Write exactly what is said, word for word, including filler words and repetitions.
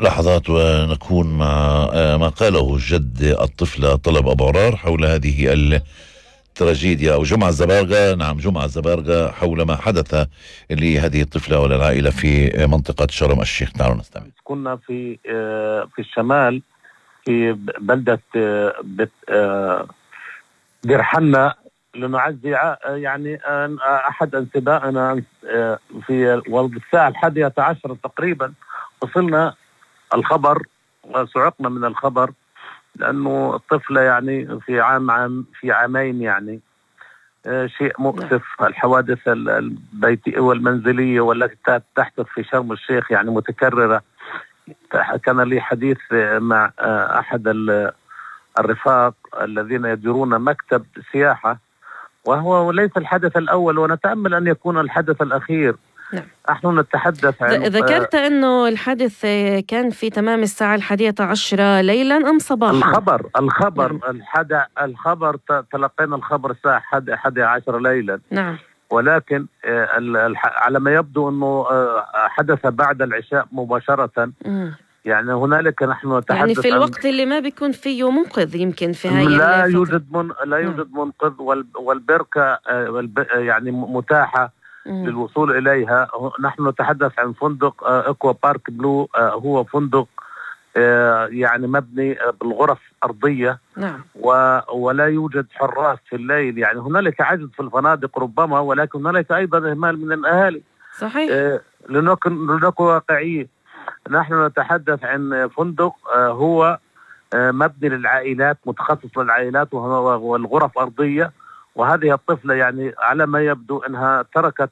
لحظات ونكون مع ما قاله جد الطفلة طلب أبو عرار حول هذه التراجيديا، أو جمعة الزبارقة. نعم، جمعة الزبارقة، حول ما حدث لهذه الطفلة وللعائلة في منطقة شرم الشيخ. تعالوا نستمع. كنا في في الشمال في بلدة دير حنا لنعزي يعني أحد انتبائنا في والساعة الحادية عشر تقريبا وصلنا الخبر، وسعقنا من الخبر لأنه الطفلة يعني في عام عام في عامين يعني شيء مؤسف. الحوادث البيتية والمنزلية والتي تحدث في شرم الشيخ يعني متكررة. كان لي حديث مع أحد الرفاق الذين يديرون مكتب سياحة، وهو ليس الحدث الأول ونتأمل أن يكون الحدث الأخير. نعم. نحن نتحدث عن ذكرت أنه الحادث كان في تمام الساعة الحادية عشرة ليلا أم صباحا؟ الخبر الخبر نعم. الحد الخبر تلقينا الخبر الساعة حادية عشر ليلا. نعم. ولكن على ما يبدو أنه حدث بعد العشاء مباشرة. م. يعني هنالك نحن نتحدث يعني في الوقت اللي ما بيكون فيه منقذ يمكن في هاي لا يوجد من لا يوجد منقذ، والبركة يعني متاحة م. للوصول إليها. نحن نتحدث عن فندق إكوا بارك بلو، هو فندق يعني مبني بالغرف أرضية. نعم. ولا يوجد حراس في الليل. يعني هنالك عجز في الفنادق ربما، ولكن هنالك أيضا إهمال من الأهالي. صحيح. لنكن لنكن واقعيين. نحن نتحدث عن فندق هو مبني للعائلات، متخصص للعائلات، والغرف أرضية. وهذه الطفلة يعني على ما يبدو أنها تركت